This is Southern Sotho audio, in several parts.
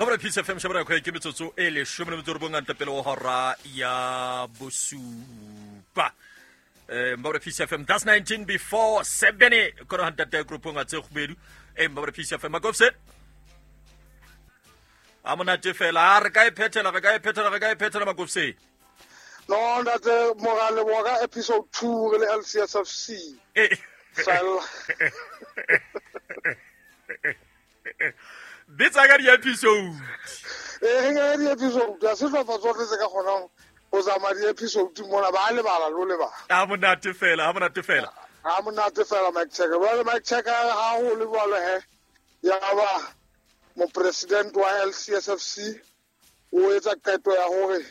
Mabra Peace FM shabra kwa ke metsotso e leshome le metso robong ntle pele ho hora ya bosupa. Mabra Peace FM, that's 19 before 7 kona hantate groupong a tse kgubedu. Mabra Peace FM makofse. A monate fela, a re ka e phethela, re ka e phethela, re ka e phethela makofse. No, ntate Morale wa ka episode 2 re le LCSFC. Fela. Bitsa ka di-episode. Ee, re ka di-episode, a sehlopha tsohle tse ka kgonang ho tsamaya di-episode mona ba lebala lo lebala. A monate fela, a monate fela. A monate fela Mike Checker. Jwale Mike Checker ha ho le jwalo he, ya ba mopresident wa LCSFC o etsa qeto ya hore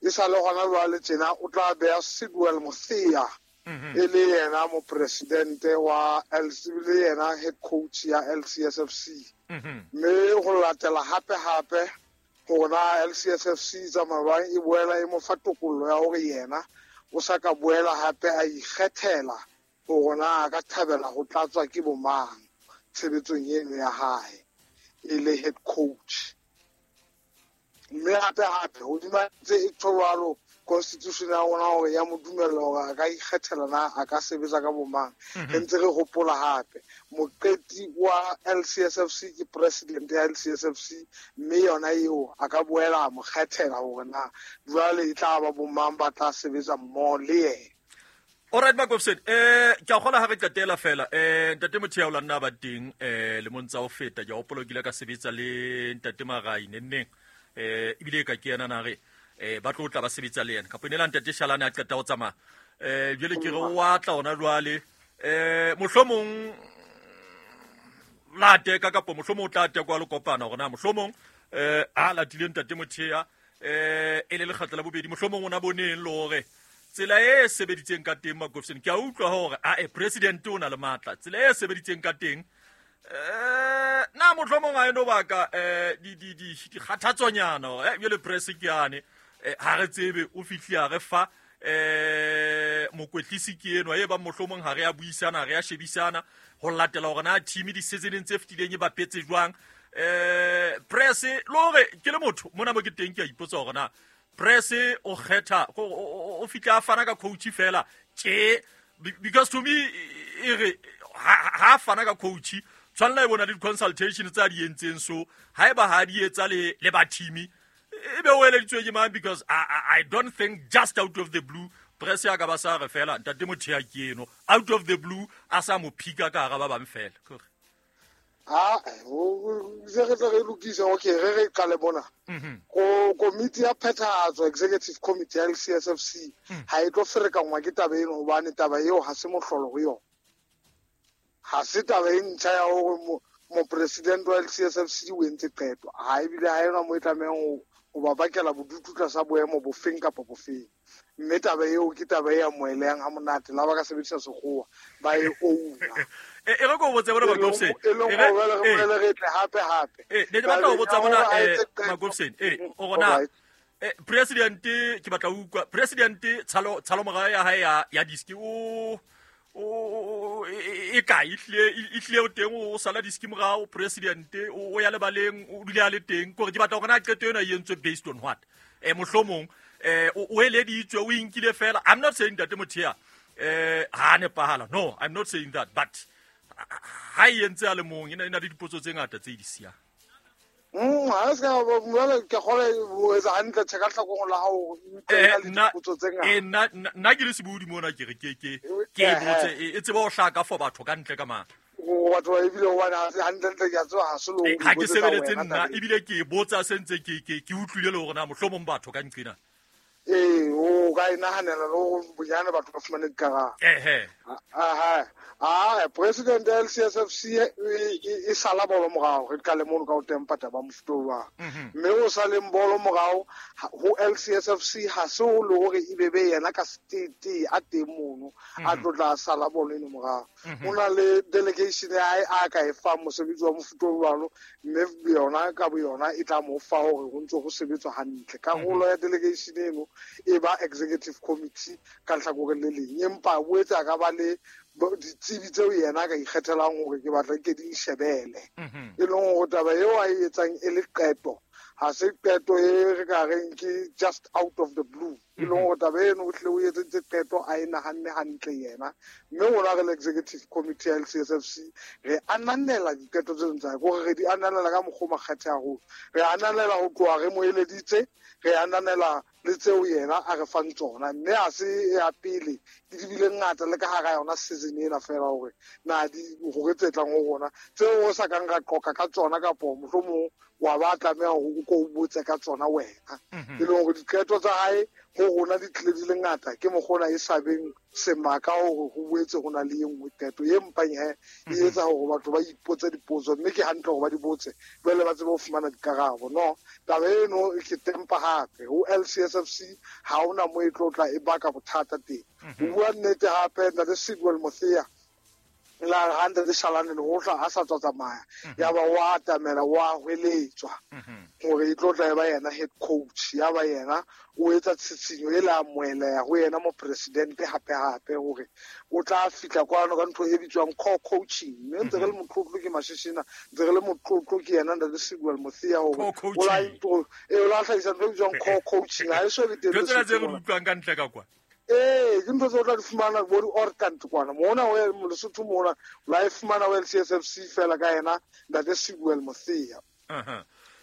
e sa le hona jwale tjena o tla beha Sidwell Mosia e le yena mopresidente wa LC, le yena head coach ya LCSFC. Mme ho latela hape hape hore na LCSFC tsamaya jwang, e boela e mo fa tokollo ya hore yena o sa ka boela hape a ikgethela hore na a ka thabela ho tlatswa ke bo mang tshebetsong eno ya hae e le head coach. Mme hape hape hodima tse e tjho constitution ya rona hore ya mo dumella hore a ka ikgethela na a ka sebetsa ka bo mang. Re ntse re hopola hape moqeti wa LCSFC ke president ya LCSFC, mme yona eo a ka boela a mo kgethela hore na jwale e tla ba bo mang ba tla sebetsa mmoho le yena. Alright Makofsen, ke a kgola ha re qetela fela. Ntate Mothea o la nna ba teng lemong tsa ho feta, ke a hopola o kile ka sebetsa le ntate Marai nenneng. Ebile ka ke yena na re ba tlo tla ba sebetsa le yena. Kapo ne la ntate Shalane a qeta ho tsamaya. Jwale ke re o atla hona jwale. Mohlomong la teka kapo mohlomong o tla tekwa le kopana hore na mohlomong a latile ntate Mothea e le lekgatlo la bobedi, mohlomong o na boneng le hore tsela e sebeditseng ka teng Makofseng. Ke a utlwa hore a president o na le matla, tsela e sebeditseng ka teng na mohlomong a eno baka di kgathatsonyana hore jwale press ke yane, ha re tsebe o fihle a re fa mokwetlisi ke enwa e bang mohlomong ha re a buisana, ha re a shebisana ho latela hore na team di seasoneng tse fetileng e bapetse jwang. Press le hore ke le motho mona mo ke teng ke a ipotsa hore na press o kgetha o fihla a fana ka coach fela tje, because to me e re ha fana ka coach tshwanela e bona le di-consultation tsa di entseng, so haeba ha di etsa le ba team e be o eleditswe ke mang, because I don't think just out of the blue press ya ka ba sa re fela ntate Mothea ke eno out of the blue a sa mo phika ka hara ba bang fela. Ha se re tla re lokisa, okay, re re qale mona. Ko komiti ya phethahatso, executive committee ya LCSFC ha e tlo ferekangwa ke taba eno, hobane taba eo ha se mohlolo ho yona. Ha se taba e ntjha ya hore mopresident wa LCSFC o entse qeto. Ha ebile ha ena mo e tlamehang ho ba bakela bodutu tlasa boemo bofeng kapa bofeng. Mme taba eo ke taba e amohelehang ha monate, la ba ka sebedisa sekgowa ba e ouna. E re ko botse bona Makofseng. E leng hore re boele re tle hape hape. Ne ke batla ho botsa bona Makofseng. O rona president ke batla ho utlwa president tshalo morao ya hae ya diski o e kae, e hlile o teng o sala diski morao president o ya lebaleng o dule a le teng, kore ke batla hore na qeto ena e entswe based on what. Mohlomong o eleditswe, o inkile fela. I'm not saying ntate Mothea ha nepahala, no, I'm not saying that, but ha e entse a le mong e na le dipotso tse ngata tse di siyang. Ha se ka jwale ke kgole ho etsa hantle tjhe ka tlhakong la hao dipotso tse ngata. Nna ke le sebodi mona ke re ke e botse e tsebe ho hlaka for batho ka ntle ka mang. Batho ba ebile hobane ha se hantle ntle ke a tseba ha se lo ha ke sebeletse nna ebile ke botsa se ntse ke utlwile le hore na mohlomong batho ka nqena. O ka e nahanela le hore bonyane batho ba fumane dikarabo. Aha, president ya LCSFC e sala bolo morao, re qale mono ka ho tempa taba mofuta o jwang. Mme o saleng bolo morao ho LCSFC ha se o le hore e be be yena ka state a teng mono a tlo tla sala bolo eno morao. O na le delegation ya hae a ka e fang mosebetsi wa mofuta o jwalo, mme yona ka bo yona e tla mo fa hore ho ntse ho sebetswa hantle. Karolo ya delegation eno e ba executive committee ka lehlakoreng le leng, empa boetse a ka ba le Ditsebi tseo yena a ka ikgethelang hore ke batla ke di shebele. E leng hore taba eo a e etsang e le qeto, ha se qeto e re ka reng ke just out of the blue. E leng hore taba eno o hlile o etseditse qeto a e nahanne hantle yena. Mme rona re le executive committee ya LCSFC re ananela diqeto tseno tsa hae, ke hore re di ananela ka mokgwa o makgethe haholo. Re ananela ho tloha re mo eleditse, re ananela le tseo yena a re fang tsona, mme ha se ya pele ke di bile ngata le ka hara yona season ena fela hore na di hore tse tlang ho rona tseo re sa kang ra qoqa ka tsona kapo mohlomong wa ba tlameha hore o ko o botse ka tsona wena. E leng hore diqeto tsa hae ho rona di tlile di le ngata, ke mokgona e sa beng semaka hore ho boetse ho na le e nngwe qeto e mpang he e etsa hore batho ba ipotse dipotso, mme ke hantle hore ba di botse jwale ba tsebe ho fumana dikarabo. No, taba eno ke tempa hape ho LCSFC ha hona mo e tlo tla e baka bothata teng. Ho bua nnete hape ntate Sidwell Mothea la re ha ntate Shalane Lehohla a sa tswa tsamaya, ya ba wa atamela wa hweletswa hore e tlo tla e ba yena head coach, ya ba yena o etsa tshitshinyo e la amoheleha ho yena mopresidente hape hape hore o tla fihla kwano ka ntho e bitswang core coaching. Mme ntse re le motlotlo ke Mashishina, ntse re le motlotlo ke yena ntate Sidwell Mothea hore Core o la coaching. o la hlahisa ntho e bitswang core coaching. Ha e so be teng Ntho tsena tse re Lesotho di mona. utlwang ka ntle ka kwa. Ee, ke ntho tse o tla di fumana bo di-orkant kwana mona ho Lesotho mona, o la e fumana ho LCSFC fela ka yena ntate Sidwell Mothea.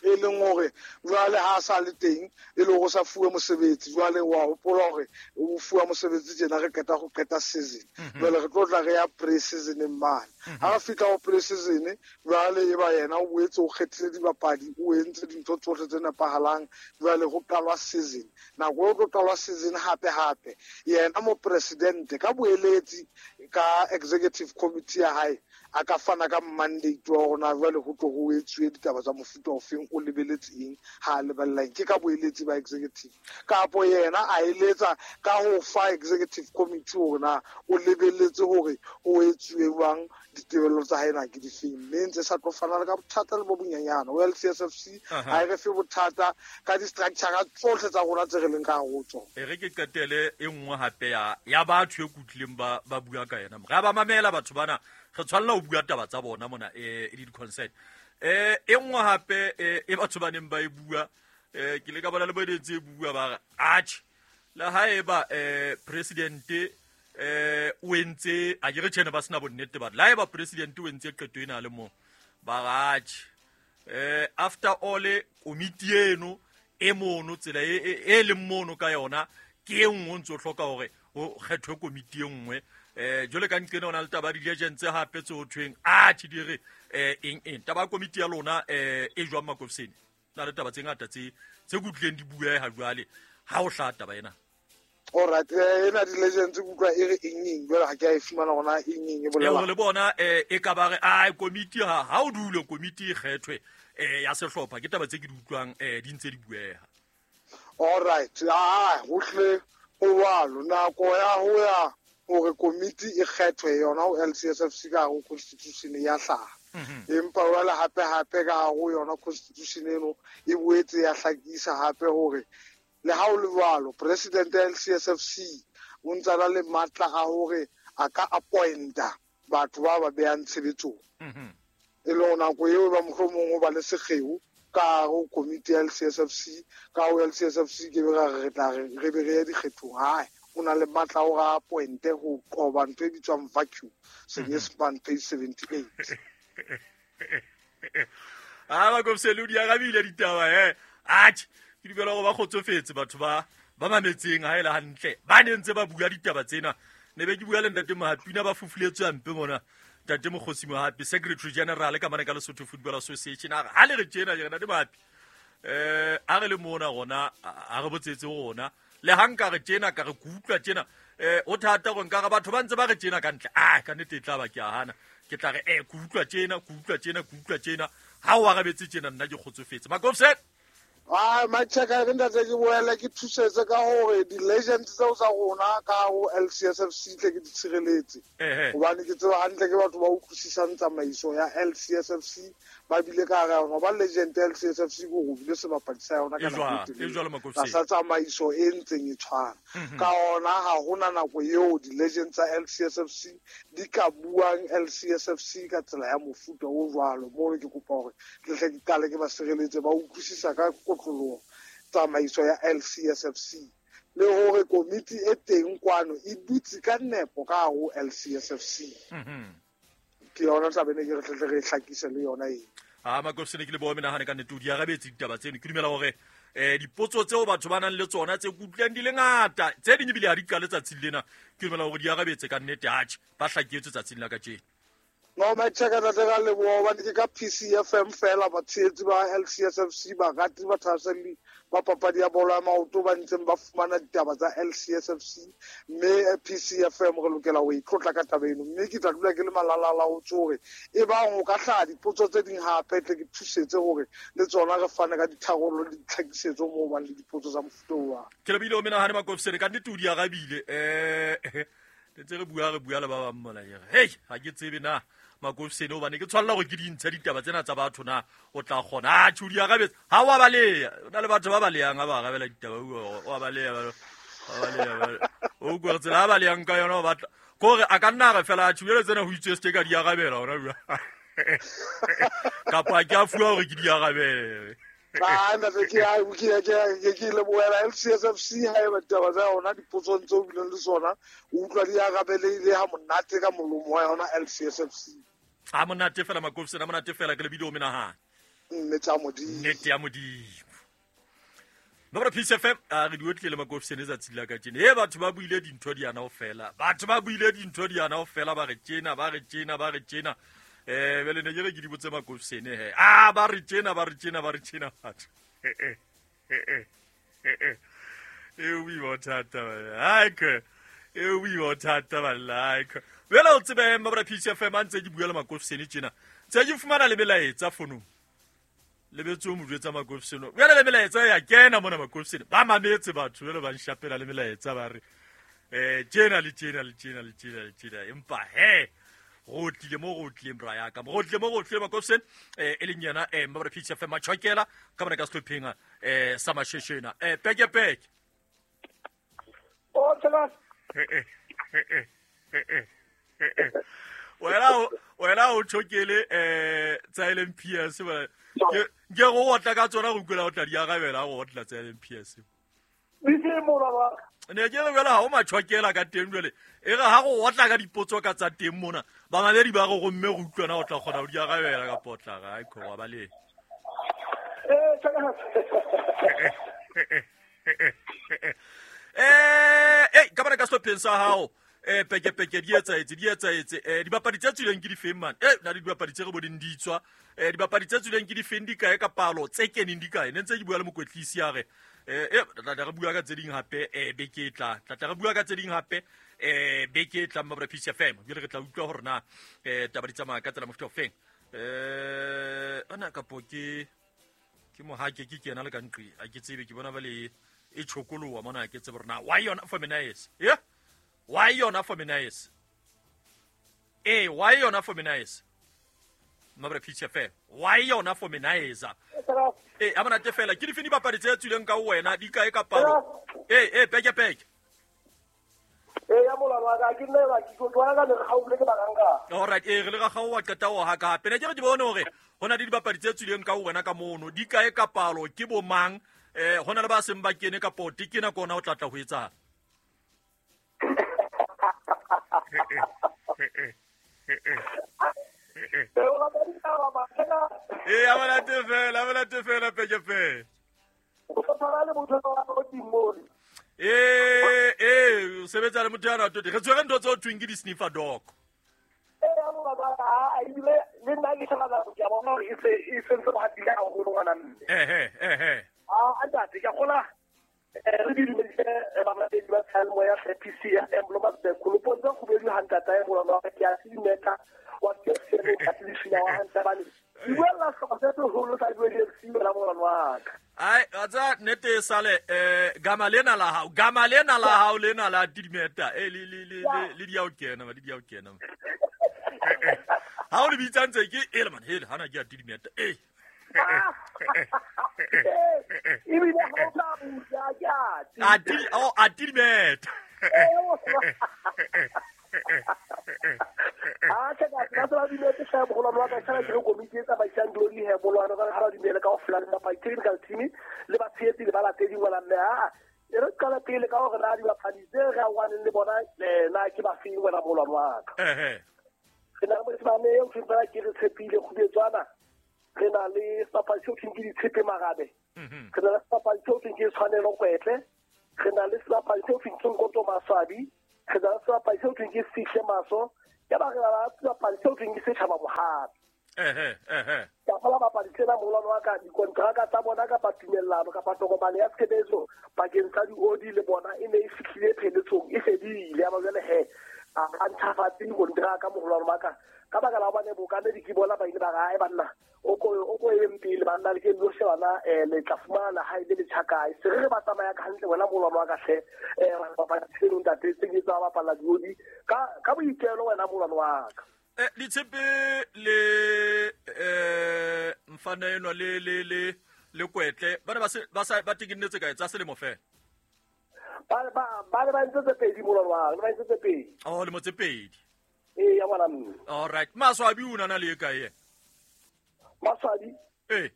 E leng hore jwale ha a sa le teng, e le hore o sa fuwe mosebetsi, jwale wa hopola hore o fuwa mosebetsi tjena re qeta ho qeta season. Jwale re tlo tla re ya pre-seasoneng mane. Ha re fihla ho pre-season, jwale e ba yena o boetse o kgethile dibapadi, o entse dintho tsohle tse nepahalang, jwale ho qalwa season. Nako eo tlo qalwa season hape hape, yena mopresidente ka boeletsi ka executive committee ya hae a ka fana ka mandate wa hore na jwale ho tlo ho etsuwe ditaba tsa mofuta ofeng, o lebeletse eng ha a lebella eng, ke ka boeletsi ba executive. Kapo yena a eletsa ka ho fa executive committee hore na o lebeletse hore ho etsuwe jwang, ditebello tsa hae na ke difeng, mme ntse sa tlo fana le ka bothata le bo bonyenyane. Ho LCSFC ha e re fe bothata ka di-structure tsohle tsa rona tse re leng ka hare ho tsona. E re ke qetele e nngwe hape ya batho e kutlileng ba bua ka yena. Re a ba mamela batho bana, re tshwanela ho bua taba tsa bona mona, e le di-concern. E nngwe hape e batho ba neng ba e bua, ke le ka bona le bo e ntse e bua ba re atjhe, le haeba presidente o entse, a ke re tjhene ba sena bonnete ba re, le haeba presidente o entse qeto ena a le mong, ba re atjhe, after all komiti eno e mono, tsela e leng mono ka yona ke e nngwe o ntso hloka hore ho kgethwe komiti e nngwe. Jwale ka nqena ho na le taba ya di-legends hape tse ho thweng atjhe di re eng eng. Taba ya komiti ya lona e jwang Makofsene? Na le taba tse ngata tse kutlileng di bueha jwale ha ho hlaha taba ena. All right, ena di-legends ke utlwa e re eng eng, jwale ha ke a e fumana hore na eng eng e bolela. Eo le bona e ka ba re, ai, komiti ha o dule komiti e kgethwe ya sehlopha, ke taba tse ke di utlwang di ntse di bueha. All right, ho hle ho jwalo, nako ya ho ya hore komiti e kgethwe yona ho LCSFC ka hare ho constitution ya hlaha. Empa jwale hape hape ka hare ho yona constitution eno e boetse ya hlakisa hape hore le ha o le jwalo president ya LCSFC o ntse a na le matla a hore a ka appointa batho ba ba behang tshebetsong. E le hore nako eo ba mohlomong ho ba le sekgeo ka hare ho komiti ya LCSFC, ka ho LCSFC ke be ra re re tla re be re ye dikgethong. Hae, o na le matla a hore a appointe ho qoba ntho e bitswang vacuum, Senyesemane page 78. Ha ba Makofsene o di arabile ditaba, Atjhe, ke dumela hore ba kgotsofetse batho ba mametseng ha e le hantle, ba ne ntse ba bua ditaba tsena. Ne be ke bua le ntate Mohapina ba fufuletswe hampe mona. Ntate Mokgosi Mohapi, Secretary General ka mane ka Lesotho Football Association, a re ha le re tjena, ke re ntate Mohapi, a re le mona rona, a re botsetse rona. Le ha nka re tjena, ka re ke utlwa tjena, ho thata hore nka re batho ba ntse ba re tjena ka ntle. Ah, ka nnete e tla ba ke a hana. Ke tla re, ke utlwa tjena, ke utlwa tjena, ke utlwa tjena. Ha o arabetse tjena, nna ke kgotsofetse. Makofsene. Ah, Machaka, re ntate ke boele ke thusetse ka hore di-legends tseo tsa rona ka ho LCSFC tle ke di tshireletse. Hobane ke tseba hantle ke batho ba utlwisisang tsamaiso ya LCSFC, ba bile ka hara yona. Ba legend ya LCSFC ko go bile sebapadi sa yona ka nako e telele tlasa tsamaiso e ntseng e tshwana. Ka ona ha hona nako eo di-legend tsa LCSFC di ka buang LCSFC ka tsela ya mofuta o jwalo. Mono ke kopa hore ke tle ke qale ke ba sireletse, ba utlwisisa ka kotloloho tsamaiso ya LCSFC le hore komiti e teng kwano e dutse ka nepo ka hare ho LCSFC. Ke yona taba ene ke re tle re hlakise le yona eo. A Makofsene, ke leboha menahane ka nnete o di arabetse ditaba tseno. Ke dumela hore dipotso tseo batho ba nang le tsona tse kutlwang di le ngata, tse ding ebile ha di qale tsatsing lena, ke dumela hore di arabetse ka nnete. Atjhe, ba hlaketswe tsatsing la kajeno. No, Mike Checker, ntate ka leboha hobane ke ka PCFM fela batshehetsi ba LCSFC, barati ba thahaselli ba papadi ya bolo ya maoto ba ntseng ba fumana ditaba tsa LCSFC, mme PCFM re lokela ho itlotla ka taba eno. Mme ke tla dula ke le malalala ho tso hore e bang ho ka hlaha dipotso tse ding hape, tle ke thusetse hore le tsona re fane ka ditharollo le ditlhakisetso moo bang le dipotso tsa mofuta oo wa. Ke lebile o menahane Makofsene, ka nnete o di arabile. Ntse re bua, re bua le ba bang mona, ke re, hei, ha ke tsebe na Makofsene, hobane ke tshwanela hore ke di ntshe ditaba tsena tsa batho na o tla kgona. Atjhe, o di arabetse. Ha wa baleha. O na le batho ba balehang ha ba arabela ditaba, o wa baleha, ba baleha, ba baleha. O utlwa tsela ha balehang ka yona, o batla. Ke hore a ka nna a re fela, atjhe, jwale tsena ho itswe se ke ka di arabela hona jwale. Kapa ke a fuwa hore ke di arabele. Ah, ntate, ke a, ke a, ke a, ke, ke lebohela LCSFC ha eba ditaba tsa yona dipotsong tseo bileng le tsona, o utlwa di arabelehile ha monate ka molomo wa yona LCSFC. Ha monate fela Makofsene, ha monate fela, ke lebile o menahane. Nnete ya Modimo. Nnete ya Modimo. Nomoro Peace FM, a re di otlile le Makofsene tsatsing la kajeno. Batho ba buile dintho di ana ho fela. Batho ba buile dintho di ana ho fela, ba re tjena, ba re tjena, ba re tjena. Bjale ne ke re ke di botse Makofsene he. Ah, ba re tjena, ba re tjena, ba re tjena batho. E o boima bothata, ba. Hai, ke. E o boima bothata, ba like. Bjale o tsebe, Mabra Peace FM, a ntse ke bua le Makofsene tjena. Ntse ke fumana le melaetsa fonong. Lebetse o mo jwetsa Makofsene. Bjale le melaetsa ya kena mona Makofsene. Ba mametse batho, jwale ba nshapela le melaetsa ba re, tjena le tjena le tjena le tjena le tjena. Empa he, go tlile mo go tlileng bra ya ka. Go tlile mo go tlileng Makofsene, e leng yena, Mabra Peace FM Machokela, ka mona ka sehlopheng, sa Masheshena. Peke peke. O tsela. Wena o tjhokele, tsa LMPS, ba, ke go otla ka tsona go utlwela o tla di arabela, go otla tsa LMPS. Ne ke re jwale ha o matjhokela ka teng jwale, e re ha go otla ka dipotso ka tsa teng mona, bamamedi ba re gomme re utlwana o tla kgona ho di arabela ka potla, ga e khona ba le. Ka bana ka sehlopheng sa hao, peke peke di etsaetse, di etsaetse. Dibapadi tse tswileng ke di feng man? Na le dibapadi tse re boneng di tswa. Dibapadi tse tswileng ke di feng di kae ka palo, tse keneng di kae? Ne ntse ke bua le mokwetlisi a re, tla tla re bua ka tse ding hape, beke e tlang. Tla tla re bua ka tse ding hape, beke e tlang Mabra Peace FM. Jwale re tla utlwa hore na, taba di tsamaya ka tsela mofuta ofeng. Ana kapo ke mohake ke kena le ka nqi, ha ke tsebe, ke bona ba le e tshokoloha mona, ha ke tsebe hore na why yona for Menaes? Yeah? Why yona for Menaes? Why yona for Menaes? Mabra Peace FM. Why yona for Menaes? Ha monate fela. Ke dife dibapadi tse tswileng ka ho wena, di kae ka palo? Peke peke. Ya molao wa ka, ke nna ba ke tlo ka le gaule ke bakanga. All right, re le ga gaowa qeta ho haka hape. Ne ke re ke bone hore ho na le dibapadi tse tswileng ka ho wena ka mono, di kae ka palo, ke bo mang? Ho na le ba seng ba kene ka pote, ke nako ona o tla tla ho etsang? Ha monate fela, ha monate fela, peke peke. O sebetsa le motho ya ratoti. Re tshwere ntho tse ho thweng ke di-sniffer dog. Le nna ke sheba ke a bona hore e se, e sentse ba hatile haholo ngwana mme. A ntate, ke a kgola, re di dumedise, balatedi ba Seyalemoya ya PCFM, Bloemsburg, Kolopong tse kgubedu ha ntata e molwana wa ka, ke a se dimeta, wa PCFM, ka se lefina wa hantle bane. Ke buella sehlopha se seholo sa ULFC wena molwana wa ka. Ai, wa tseba, nnete e sale, gama lena la hao, gama lena la hao lena la tidimeta, le, le, le, le, le di ya ho kena, le di ya ho kena. Ha o le bitsa ntse ke ele man hele hana ke a tidimeta e ebile ha o tla busa ke a tidimeta. A tse ka ba ba dumetse hle mogolwane wa ka tshwana ke komiti e tsamaisang dilo he molwana ka ha ba dumele ka ofela le ba technical team le ba tshehetsi le ba latedi ngwana mme a e re qala pele ka hore na dibapadi tse re awaneng le bona na ke ba feng wena molwana wa ka. Re na le mosimane eo ke fela ke re tshepile kgubetswana, re na le sebapadi seo ke ditshepe marabe, re na le sebapadi seo ke tshwanelo kwetle, re na le sebapadi seo ke Nkoto Maswabi, re na le sebapadi seo ke Fihle Maso, ya ba re na le sebapadi seo ke Setjhaba Mohapi. Ka fola bapadi tsena molwana wa ka dikontraka tsa bona kapa tumellano kapa tokomane ya tshebetso pakeng tsa diodi le bona e ne e fihlile pheletsong e fedile. Ya ba jwale he a ntjhafatse dikontraka mogolwane wa ka ka baka la hobane bokamedi ke bona ba ile ba re banna o ko eng pele banna le ke lo shebana le tla fumana ha ile le tjhakae se re ba tsamaya ka hantle wena molwana wa ka hle bapadi tseno ntate tse ke tsa bapala diodi ka boitelo wena molwana wa ka. Ditshepe le mfana enwa le le le le kwetle ba ne ba sa ba tekenetse kae tsa selemo fela? Ba ba ba ntse tse pedi molwana wa ka, ba ntse tse pedi. Oh, lemo tse pedi. Ee ya ngwana mme. All right. Maswabi o nana le kae? Maswabi? Eh.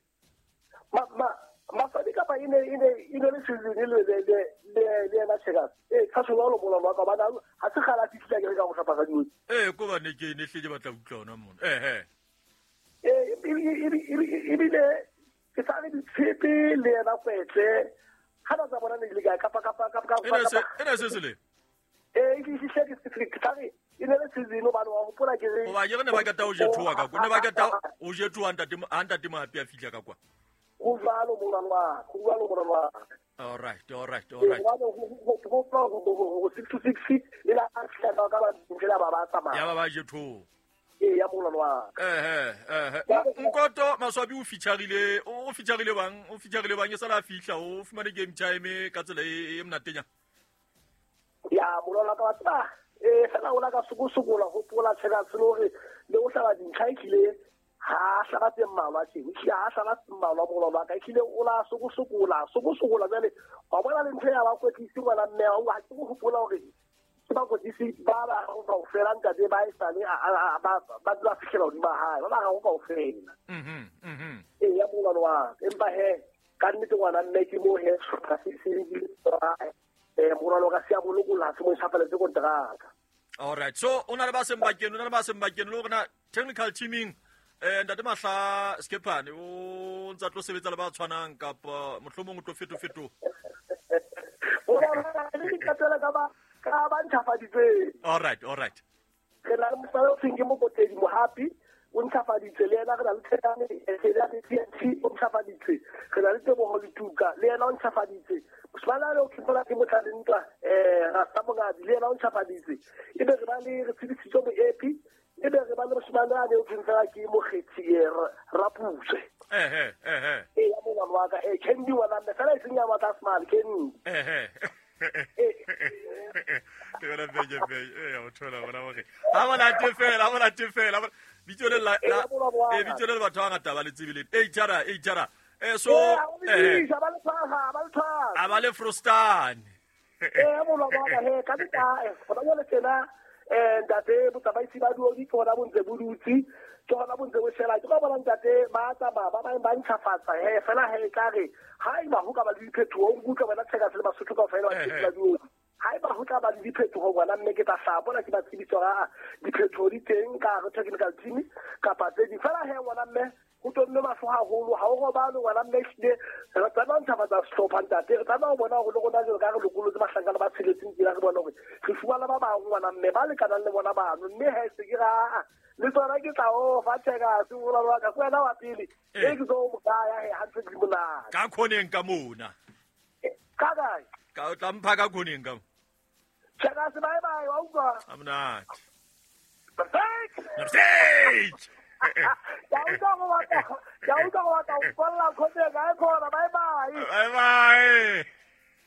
Maswabi kapa ine le season le le le na cheka. Eh ka tshwana lo molwana wa ka bana ha se kgala fihlile ke re ka go hlapa ka diodi. Eh ko ba ne ke ne hle ke batla utlwa ona mona. Eh. Eh ebile ke sa re ditshepe le yena kwetle ha ba tsa bona ne le ka kapa ene se le. Eh ke fihlile ke sa re ine le season ba wa hopola ke re. Hoba ke re ne ba kata o jethoa ka kwa. Ne ba kata o jethoa ntate Mohapi a fihla ka kwa. Go jwalo molwana wa, go jwalo molwana wa. All right. Go 6 to 6 le la fihla ka ba fela ba tsamaya. Ya ba ba jethoa. Ee ya molwana wa. Nkoto Maswabi o featureile bang e sala fihla o fumane game time ka tsela e monatenya. Ya molwana ka ba fela o la ka sokosokola hopola tshela tshelo le o hlaba dintlha ehlile ha hlaba tse mmalwa tje ehlile ha hlaba tse mmalwa molwana wa ka ehlile o la sokosokola jwale wa bona le ntho ya ba kwetlisi ngwana mme wa ha ke go hopola hore ke ba kwetlisi ba ba kaofela ntate ba e sale ba ba fihlela hodima hae ba ba ga go kaofela. Ee ya molwana wa ka empa he ka nnete ngwana mme ke mo he sehlopha se se molwana wa ka se a bolokola se mo ntjhafaletse kontraka. All right. So o na le ba seng bakeng le hore technical teaming ntate Mahla Skepane o ntsa tlo sebetsa le ba tshwanang kapa mohlomong o tlo feto. O ba le dikatela ka ba ntjhafaditseng. All right. Re na le mosala o tshweng ke Mokotedi Mohapi o ntjhafaditse le yena, re na le Thekane TNT o ntjhafaditse, re na le Teboho Letuka le yena o ntjhafaditse, mosimane le o ke ke motlale ntwa Rasta Mongabi le yena o ntjhafaditse, ebe re ba le re tsebisitswe Moepi, ebe re ba le mosimane a ne o tshweng fela ke Mokgethi Rapuse. Ee ya molwana wa ka Candy ngwana mme fela e seng ya batla small Candy. Ke bona beke o thola bona hore ha bona tefela bitso le la bitso le batho ba ngata ba le tsebileng e tjara so a ba le frostane molwana wa ka he ka nta gona jwale tsena ntate botsamaisi ba duodi ke gona bo ntse bo dutse ke gona bo ntse bo shela ke go bona ntate ba tsamaya ba bang ba ntšhafatsa he fela he e tla re ha eba ho ka ba le diphetoho o nkutlwa wena tsheka se le Basotho kaofela ba tsebisa duodi ha eba ho tla ba le diphetoho ngwana mme ke tla hlaha bona ke ba tsebisa hore a diphetoho di teng ka hare technical team kapa tse ding fela he ngwana mme ho tonne mahlo haholo ha o robale ngwana mme ehlile re tlameha ho ntjhafatsa sehlopha ntate re tlameha ho bona hore le rona jwalo ka re lokolotse bahlankana ba tsheletseng tsela re bona hore re fumana ba bang ngwana mme ba lekanang le bona bano mme he se ke ra le tsona ke tla o fa tsheka se molwana wa ka ke wena wa pele e ke tlo mo kaya he ha ntse di monate ka khoneng ka mona ka kae ka o tla mpha ka khoneng ka tsheka se bye bye wa utlwa a monate Perfect. Ya utlwa go batla go folla khoneng ka e khona bye bye bye bye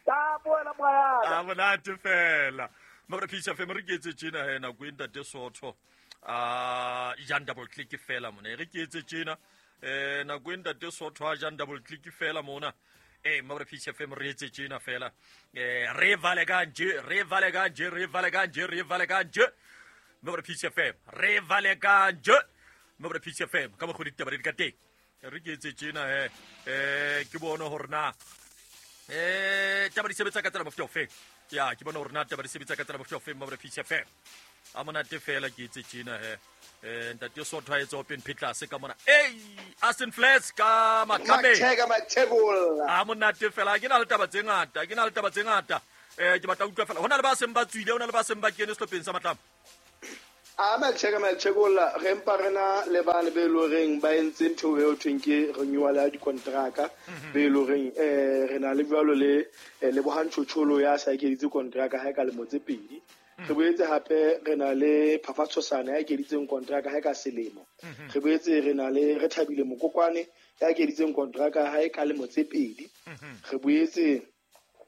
ta boela moya a monate fela mara phisa fe re ke etse tjena he nako e ntate Sotho A jang double click fela mona, e re ke etse tjena. Nako e ntate Sotho a jang double click fela mona. Mabra Peace FM re etse tjena fela. Re vale kanje, re vale kanje, re vale kanje, re vale kanje. Mabra Peace FM, re vale kanje. Mabra Peace FM ka mokgwa ditaba di ka teng. Re ke etse tjena he. Ke bone hore na taba di sebetsa ka tsela mofuta ofeng. Ya, ke bone hore na taba di sebetsa ka tsela mofuta ofeng Mabra Peace FM. A monate fela ke etse tjena he. Ntate Sotho a etsa open pitlase ka mona. Ei, Aston Flats ka Matlame. A monate fela, ke na le taba tse ngata, ke na le taba tse ngata. Ke batla utlwa fela. Hona le ba seng ba tswile, hona le ba seng ba kene sehlopheng sa Matlame. A Macheka re mpa rena le bane be loreng ba entse ntho eo thweng ke renewal ya dikontraka, be loreng re na le jwalo le Lebohang Tjhotjholo ya sa ekeditse kontraka ha e ka lemo tse 2. Re boetse hape re na le Phafatshosana ya ekeditseng kontraka ha e ka selemo. Re boetse re na le Rethabile Mokokwane ya ekeditseng kontraka ha e ka lemo tse 2. Re boetse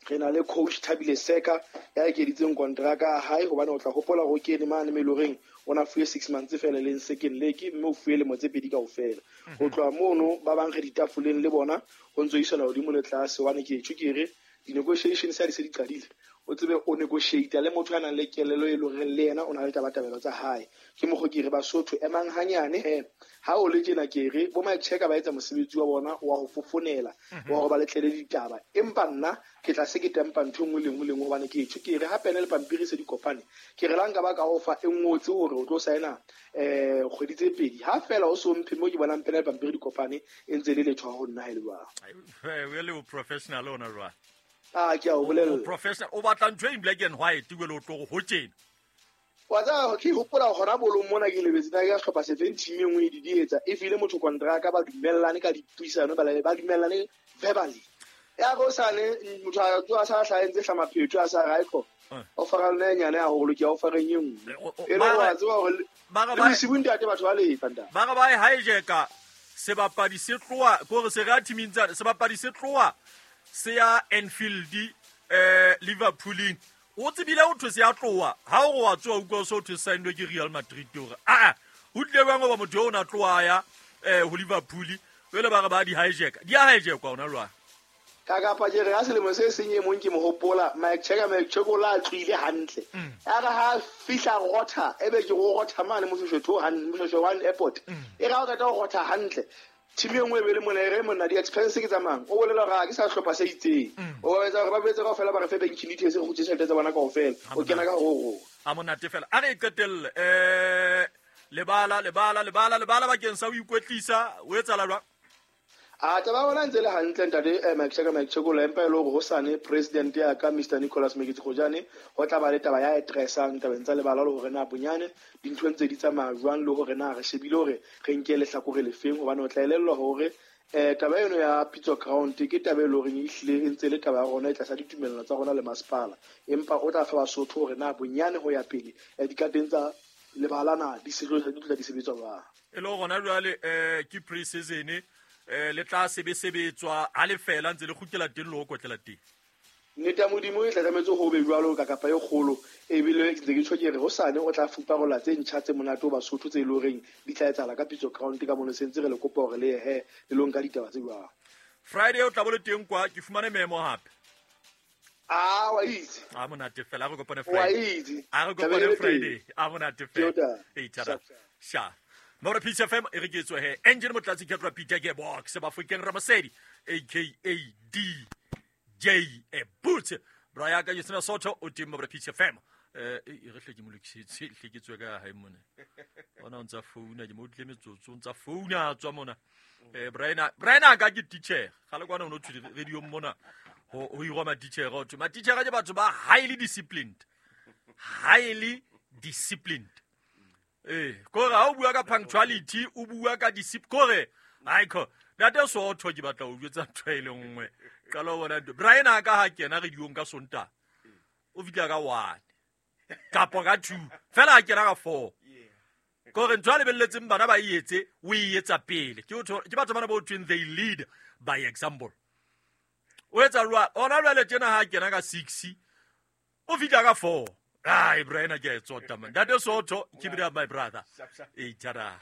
re na le coach Thabile Seka ya ekeditseng kontraka hae, hobane o tla hopola hore ke ene mane me loreng o na fuwe 6 months fela leng second leg, mme o fuwe lemo tse 2 kaofela. Ho tloha mono ba bang re ditafoleng le bona ho ntso isana hodimo le tlase, hobane ke tjho ke re di-negotiations ha di se di qadile, o tsebe o negotiate le motho a nang le kelello e loreng le yena o na le tabatabelo tsa hae. Ke mokgo ke re Basotho emang hanyane he, ha o le tjena ke re bo Macheka ba etsa mosebetsi wa bona wa ho fofonela, wa hore ba letlele ditaba, empa nna ke tla se ke tempa ntho nngwe le nngwe le nngwe, hobane ke tjho ke re ha pene le pampiri se di kopane, ke re la nka ba ka ofa e ngotse hore o tlo saena kgwedi tse 2, ha fela o so mphe mo ke bonang pene le pampiri di kopane e ntse le letho ho nna ha e le jwang. We le professional ona jwang. Ah, ke a o bolella. Professional o batla ntho e black and white o le o tlo ho tjena. Wa tsaba ke hopola hona bolong mona ke lebetse na ke hlopha sefeng team e nngwe di etsa e file motho kontraka, ba dumellane ka dipuisano, ba dumellane verbally. Ya go sane motho a tswa sa hlaentse hlamaphetho a sa raiko. O fara le nyane ya hore ke o fareng e nngwe. E le wa tseba hore ba sibunta ate batho ba lefa nda. Ba ba hijacka sebapadi se tloa gore se ra teaming tsa sebapadi se tloa se ya Anfield Liverpool. O tsebile o thwe se ya tloa ha o wa tswa utlwa so thwe signed ke Real Madrid hore a o tlile bang ba motho o na tloa ya ho Liverpool jwale ba re ba di hijack di a hijack ona jwang. Ka kapa ke re ha selemo se seng e mong ke mo hopola Mike Checker Mike Chekola a tloile hantle, ya re ha fihla rotha ebe ke go rotha mane Moshoeshoe hantle Moshoeshoe one airport, e ra o qeta go rotha hantle team e nngwe e be le mona e re monna di-expense ke tsamang o bolela hore ha ke sa hlopha se itseng, o ba etsa hore ba betse kaofela ba re fe banking details re kgutlise tjhelete tsa bona kaofela, o kena ka ho a monate fela. A re qetelle lebala lebala lebala lebala bakeng sa ho ikwetlisa o etsahala jwang? A taba bona ntse le hantle ntate Mike Checker Mike Chekola, empa e le hore hosane president ya ka Mr Nicholas Meketsi Kgojane ho tla ba le taba ya addressang tabeng tsa lebala le hore na bonyane dintho ntse di tsamaya jwang, le hore na re shebile hore re nke lehlakore lefeng, hobane o tla elellwa hore taba eno ya Pitso Ground ke taba e leng hore e hlile e ntse le taba ya rona e tlasa ditumellano tsa rona le masepala, empa o tla fa Basotho hore na bonyane ho ya pele dikateng tsa lebala na di tla di sebetswa jwang. E le hore jwale ke pre-season le tla sebetswa ha le fela ntse le kgutlela teng le ho kotlela teng. Nnete ya Modimo e tla tlametse ho be jwalo ka kapa e kgolo, ebile ke ntse ke tjho ke re hosane o tla fuparola tse ntjha tse monate ho Basotho tse e leng horeng di tla etsahala ka Pitso Ground ka mono, se ntse re le kopa hore le ye he le lo nka ditaba tse jwang. Friday o tla bo le teng kwa, ke fumane memo hape. Ah, wa itse. A monate fela, a re kopane Friday. A re kopane Friday. A monate fela. E tshara. Sha. Mora Peace FM e re ke tswe he. Engine Motlatsi ke tloa Peter Gearbox Bafokeng Ramasedi aka DJ Boots. Braya ka Yusina Soto o teng Mora Peace FM. E re hle ke mo lokisitse, hle ke tswe ka hae mona. Ona o ntsa founa, ke mo utlwile metsotso, o ntsa founa a tswa mona. Brian a ka ke teacher. Ga le kwana o no thwe radio mona. Ho irwa ma-teacher ho thwe ma-teacher ke batho ba highly disciplined. Highly disciplined. Kore ha o bua ka punctuality, o bua ka discipline, kore aiko ntate Soto ke batla ho jwetsa ntho e le nngwe. Qala ho bona ntho. Brian a ka ha kena radiong ka Sontaha, o fihla ka 1 kapa ka 2, fela a kena ka 4. Kore ntho a lebelletseng bana ba e etse, o e etsa pele. Ke batho bana ba ho thweng they lead by example. O etsa jwang? Ona jwale tjena ha kena ka 6, o fihla ka 4. Ai, bra, ena ke a e tsota, man. Ntate Soto, keep it up, my brother. Sharp, sharp. E tara.